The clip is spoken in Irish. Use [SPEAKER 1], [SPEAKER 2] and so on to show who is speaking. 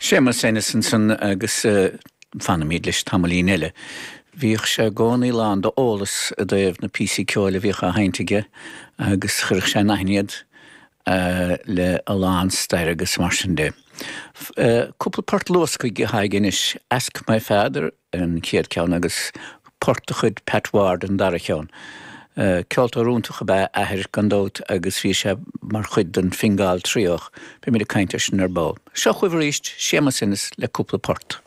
[SPEAKER 1] Séamus Ennis ansan agus fanfaimid leis tamaillín eile. Bhíodh sé i gcónaí lán d'eolas i dtaobh na píosaí ceoil a bhíodh á sheinnt aige agus chuireadh sé in aithne iad le a lán staire agus mar sin de. Cúpla port luasctha atá aige anois, Ask My Father, an chéad cheann agus port de chuid Pat Ward an dara cheann. Ceoltóir iontach ab ea a athair gan dabht agus bhí sé mar chuid den Fingal Trio. Beimid ag caint air sin ar ball. Seo chugaibh arís Séamus Ennis le cúpla port.